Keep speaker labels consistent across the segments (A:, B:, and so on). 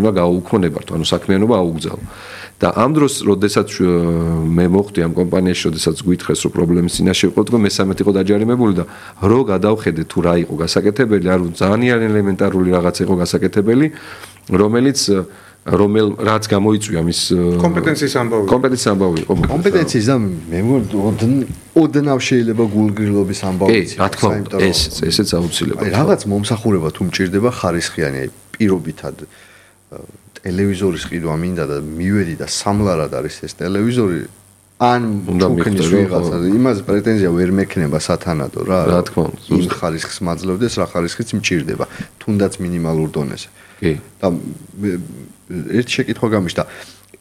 A: უნდა გაუქონებართო, ანუ საქმიანობა აუგზავნო. და ამ დროს, როდესაც მე მოხვდი ამ კომპანიაში, როდესაც გვითხრეს, რომ პრობლემის წინაშე ვიყო, თქო მე-13 იყო დაჯარიმებული და რო გადავხედე თუ რა იყო გასაკეთებელი, ანუ ძალიან ელემენტარული რაღაც იყო გასაკეთებელი, რომელიც რაც გამოიწვია მის
B: კომპეტენციის
A: ამბავი იყო.
C: კომპეტენციის და მე ოდნავ შეიძლება გულგრილობის ამბავი
A: იცი. რა თქმა უნდა, ესეც აუცილებელია.
C: რაღაც მომსახურება თუ მჭირდება ხარისხიანი, აი პირობითად ტელევიზორის ყიდვა მინდა და მივედი და სამლარად არის ეს ტელევიზორი ან ჩუქნის ვიღაცა იმას პრეტენზია ვერ მექნება სათანადო რა.
A: რა თქმა უნდა,
C: ზუსტ ხარისხს მაძლევდეს, რა ხარისხიც მჭირდება, თუნდაც მინიმალურ დონეზე.
A: კი.
C: და ერთი შეკითხვა გამიშთა.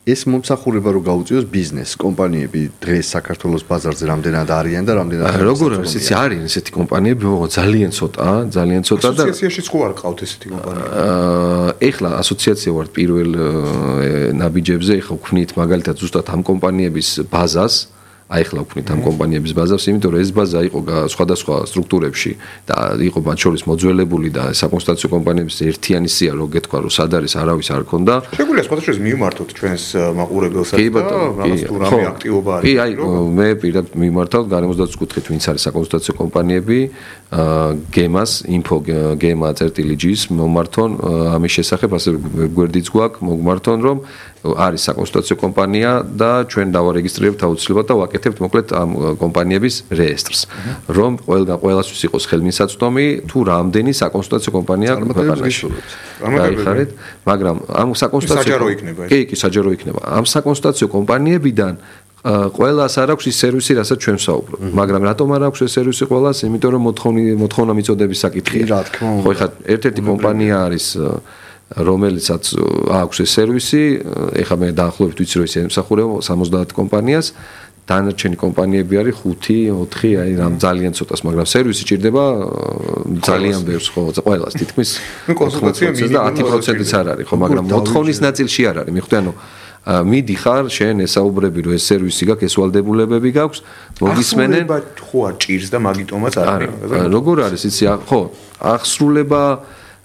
C: ეს მომსახურება რო გაუწიოს ბიზნეს კომპანიები დღეს საქართველოს ბაზარზე რამდენად არიან და რამდენად
A: როგორ არის იცი არის ესეთი კომპანიები ძალიან ცოტა და
B: ასოციაციაშიც ხო არ ყავთ ესეთი კომპანიები
A: ეხლა ასოციაცია ვარ პირველ ნაბიჯებზე ეხლა ვქვნით მაგალითად ზუსტად ამ კომპანიების ბაზას აი ახლა ვქნით ამ კომპანიების ბაზას, იმიტომ რომ ეს ბაზა იყო სხვადასხვა სტრუქტურებში და იყო მათ შორის მოძველებული და საკონსტიტუციო კომპანიების ერთიანი სია რო გეთქვა რომ სად არის არავის არ ქონდა.
B: შეგვიძლია სხვადასხვა მივმართოთ ჩვენს მაყურებელსაც და რაღაც თუ რამე აქტივობა არის.
A: კი, აი მე პირადად მივმართავ გარემოსდაცვის კუთხით ვინც არის საკონსტიტუციო კომპანიები, გემას, info gema.gis მომართონ ამის შესახებ ასე გვერდიც გვაქვს მოგმართონ რომ არის საკონსტიტუციო კომპანია და ჩვენ დავარეგისტრირებთ აუცილებლად და ვაკეთებთ მოკლედ ამ კომპანიების რეესტრს. რომ ყველასთვის იყოს ხელმისაწვდომი თუ რამდენი საკონსტიტუციო კომპანია ქვეყანაში. გაიხარეთ, მაგრამ ამ საკონსტიტუციო
B: საჯარო იქნება.
A: კი, საჯარო იქნება. ამ საკონსტიტუციო კომპანიებიდან ყველას არ აქვს ის სერვისი, რასაც ჩვენ ვსაუბრობთ. მაგრამ რატომ არ აქვს ეს სერვისი ყველას? იმიტომ რომ მოთხოვნა მიწოდების საკითხია.
C: რა თქმა უნდა.
A: ხო, ეხლა ერთ-ერთი კომპანია არის რომელიცაც აქვს ეს სერვისი, ეხლა მე დაახლოებით ვიცი რომ ის ემსახურება 70 კომპანიას, დანარჩენი კომპანიები არის 5-4, აი რამ ძალიან ცოტას, მაგრამ სერვისი ჭირდება ძალიან ბევრს, ხო, ყველას თითქმის
B: 90%
A: და 10%-იც არ არის, ხო, მაგრამ მოთხოვნის ნაწილში არ არის. მიხვდი, ანუ მიდიხარ, შენ ესაუბრები რომ ეს სერვისი გაქვს, ეს ვალდებულებები გაქვს, მოგისმენენ,
B: ხო არ ჭირს და მაგიტომაც არ არის.
A: როგორ არის, იცი, ხო,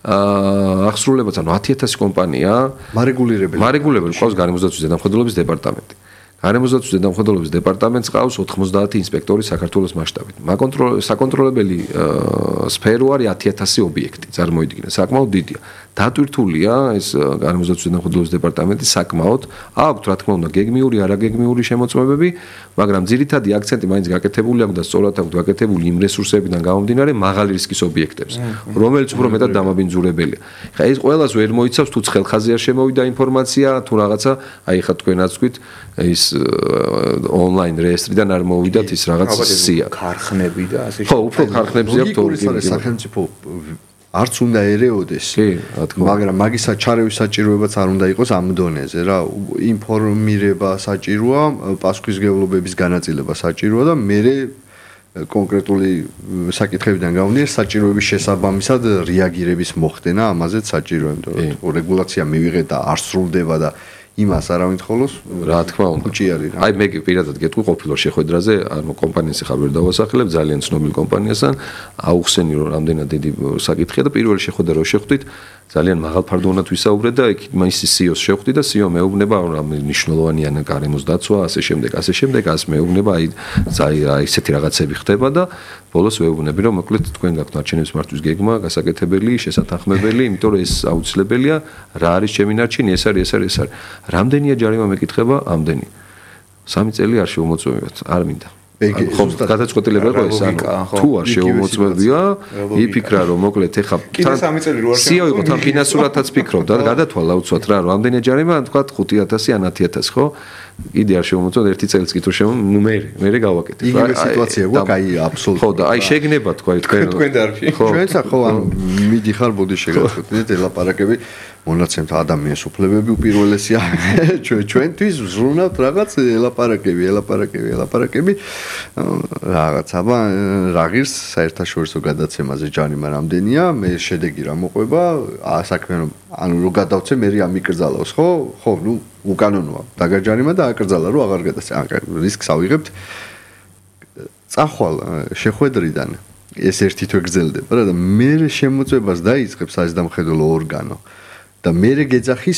A: აღსრულებაც ანუ 10000 კომპანია მარეგულირებელი ყავს გარემოსდაცვის ზედამხედველობის დეპარტამენტი. გარემოსდაცვის ზედამხედველობის დეპარტამენტს ყავს 90 ინსპექტორი საქართველოს მასშტაბით. საკონტროლებელი სფერო არის 10000 ობიექტი, წარმოიდგინე, საკმაოდ დიდია. დატვირთულია ეს გარემოსდაცვის ზედამხედველობის დეპარტამენტი საკმაოდ, აქვს რა თქმა უნდა გეგმიური, არაგეგმიური შემოწმებები, მაგრამ ძირითადი აქცენტი მაინც გაკეთებული აქვს და სწორად აქვს გაკეთებული იმ რესურსებიდან გამომდინარე მაღალი რისკის ობიექტებს, რომელიც უფრო მეტად დამაბინძურებელია. ხა ეს ყველას ვერ მოიცავს თუ ცხელხაზე არ შემოვიდა ინფორმაცია, თუ რაღაცა, აი ხა თქვენაც თქვით ის ონლაინ რეესტრიდან არ მოვიდათ ის რაღაც სია.
B: ქარხნები და ასე
A: ხო, უფრო ქარხნებზე აქვს
C: თორემ სახელმწიფო არც უნდა ერეოდეს.
A: კი, რა თქმა უნდა.
C: მაგრამ მაგისა ჩარევის საჭიროებაც არ უნდა იყოს ამ დონეზე რა. ინფორმირება საჭიროა, პასუხისმგებლობების განაწილება საჭიროა და მე კონკრეტული საკითხებიდან გამომდინარე საჭიროების შესაბამისად რეაგირების მოხდენა ამაზეც საჭიროა, იმიტომ რომ რეგულაცია მივიღეთ და არ სრულდება და იმას არავინ თხოვოს,
A: რა თქმა უნდა.
C: უჭი არის რა.
A: აი მე პირადად გეტყვი ყოფილ შეხვედრაზე, ანუ კომპანიას ახლა ვერ დავასახელებ, ძალიან ცნობილ კომპანიასთან, აუხსენი რომ რამდენად დიდი საკითხია და პირველი შეხვედრა რო შეხვდით, ძალიან მაღალფარდოვნად ვისაუბრეთ და ის CEO-ს შეხვდი და CEO მეუბნება რა მნიშვნელოვანია გარემოს დაცვა, ასე შემდეგ, ას მეუბნება აი ესეთი რაღაცები ხდება და ბოლოს ვეუბნები რომ მოკლედ თქვენ გაქვთ ნარჩენების მართვის გეგმა, გასაკეთებელი, შესათანხმებელი, იმიტომ რომ ეს აუცილებელია, რა არის ჩემი ნარჩენი, ეს არის. რამდენია ჯარიმა მეკითხება? ამდენი. 3 წელი არ შეუმოწმებიათ, არ მინდა. ხო, გადაწყვეტილება იყო ეს, ანუ თუ არ შეუმოწმებია, იფიქრა რომ მოკლედ ეხა
B: კიდე 3 წელი რო არ
A: CEO იყო თან ფინანსურათაც ფიქრობდა და გადათვალა უცბად რა, რომ ამდენია ჯარიმა, თქვა 5000 ან 10000, ხო? კიდე არ შემოწმოთ ერთი წელიც კი თუ ნუ მე გავაკეთებ
C: რა. იგივე სიტუაცია გვაქვს, აი აბსოლუტურად.
A: ხო და აი შეგნება თქვა
B: თქვენ დარფი.
C: ჩვენც ხო ანუ მიდიხარ ბოდი შეგახსენეთ ელაპარაკები მონაცემთ ადამიანის უფლებები უპირველესია ჩვენთვის ვზრუნავთ რაღაც ელაპარაკები რაღაც აბა რა ღირს საერთაშორისო გადაცემაზე ჯარიმა რამდენია მე შედეგი რა მოყვება საქმე ანუ რო გადავცე მე ამიკრძალავს ხო ნუ უკანონოა დაგაჯარიმა და აკრძალა რომ აღარ გადაცე რისკს ავიღებთ წახვალ შეხვედრიდან ეს ერთი თვე გრძელდება რა და მე შემოწმებას დაიწყებს საზედამხედველო ორგანო და მე გეძახის